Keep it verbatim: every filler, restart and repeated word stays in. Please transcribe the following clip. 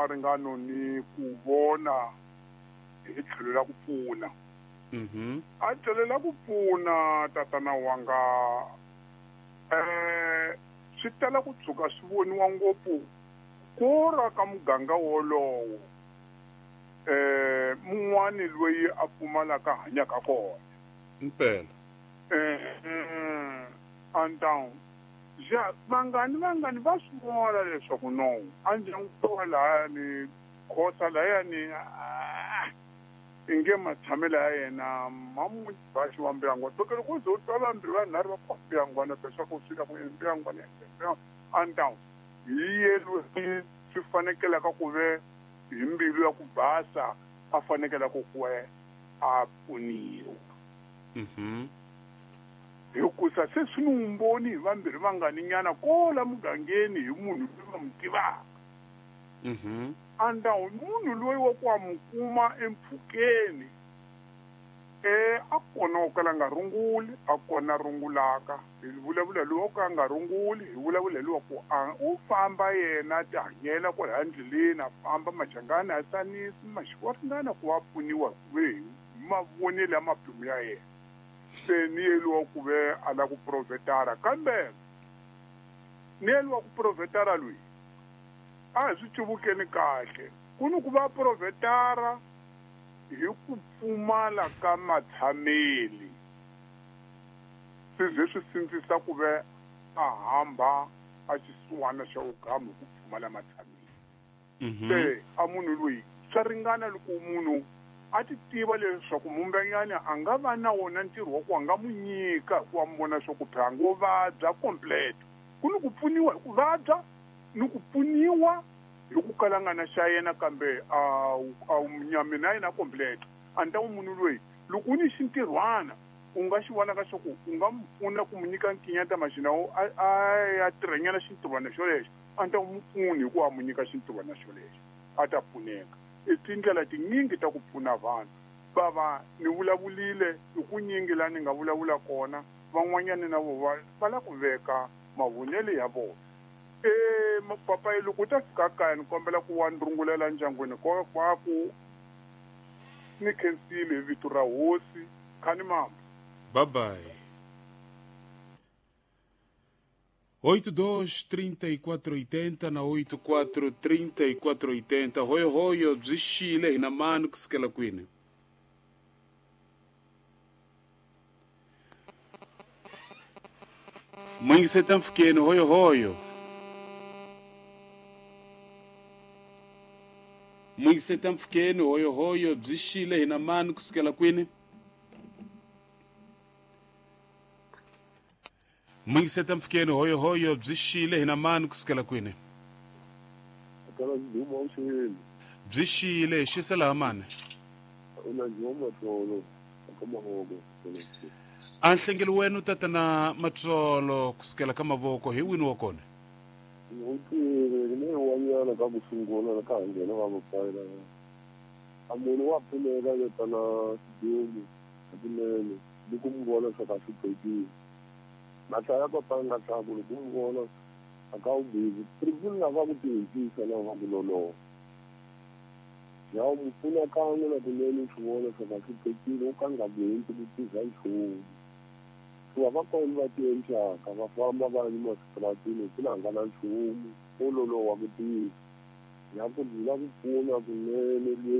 wa ringano ni ku vona hi tlhelo la ku pfuna. Mhm. A tlhelo la ku pfuna tatana wanga eh swi tala ku tshuka swi voniwa ngopfu ku ra ka muganga wolowo eh mun'wani loyi a pfumalaka hanyaka kona. Impela. Eh andown ja vangani vangani va swi vona leswaku no a ndyangu wa lahayani khosa lahayani inge matshamelo ya yena mamubaxi wa mbuyangwana loko loko ze u twa vambirhi vanharhu va ku mbuyangwana leswaku swi la ku mbuyangwana andown hi ye loyi swi fanekelaka ku ve hi mbilu ya ku basa a fanekelaka ku ve a pfuniwa. Mhm. Hikusa se swi ni vumbhoni hi vambirhi vangani nyana kola mugangeni hi munhu loyi va n'wi tivaka. Mhm. Andawu munhu loyi wa ku a mu kuma empfhukeni eh a kona wo kala nga runguli a kona rungulaka hi vulavula loyi wo ka nga runguli hi vulavula loyi wa ku a u famba yena ti hanyela kwalaya ndleleni a famba machangani a tsanisi maxiko ringana ku va pfuniwa hi mavonelo ya mapimu ya yena. Se ni yeliwa ku ve a la ku profetara kambe ni yeliwa ku profetara loyi a hi swi cuvukeni kahle ku ni ku va profetara hi ku pfumala ka matshameli swi ze swi sindzisa ku ve a hamba a xisiwana xa vugamu hi ku pfumala matshameli. Se a munhu loyi swa ringana loko munhu a ti tiva leswaku mumbanyana a nga va na wona ntirho wa ku a nga mu nyika hikuva mu vona swa ku phela ngo vabya complete ku ni ku pfuniwa hi ku vabya ni ku pfuniwa hi ku kalangana xa yena kambe a a nyameni ya yena complete a ni ta ku munhu loyi loko u ni xintirhwana u nga xi vonaka xa ku u nga mu pfuna ku mu nyika nkinyata maxina a ya tirhanyana xintirhwana xolexo a ni ta ku mu pfuni hikuva a mu nyika xintirhwana xolexo a ta pfuneka. I tindlela tinyingi ta ku pfuna vanhu bava ni vulavulile hi ku nyingi laha ni nga vulavula kona van'wanyana na vo va va la ku veka mavonelo ya vona. Eh papayi loko u ta fika kaya ni kombela ku wa ni rungulela ndyangwini kwakwaku ni khensile hi vito ra hosi khani mama. Bye bye. oito dois trinta e quatro oitenta na oito quatro trinta e quatro oitenta. Hoyo hoyo byi xile hina mani kusukela kwini? Mwingiseta mfukeni hoyo hoyo. Mwingiseta mfukeni hoyo hoyo byi xile hina mani kusukela kwini? Mwingiseta mfukeni hoyo hoyo byi xile hina mani kusukela kwini? Byi xile hi xisa laha mani? A nhlengelo wena u tatana Matsolo kusukela ka mavoko hi wini wa kona? Wanyana ka ku sungula ka ha nghena va mapfayela a munhu wa pfuneka yetana xidumu hakunene loko mu vona swa ka hluphekile mahlaya papanga tlhaku loko mu vona a ka wu busy privuli lava ku tihentisa na va ku loloha ya mu pfuna kan'we na kunene swi vona swa ka hluphekile u ka nga buhenti ku tirha nchumu hikuva va kona va tiencaka va famba va yima switaratini ku na nga na nchumu wo loloha ku tirha ya ku la ku pfuna kunene.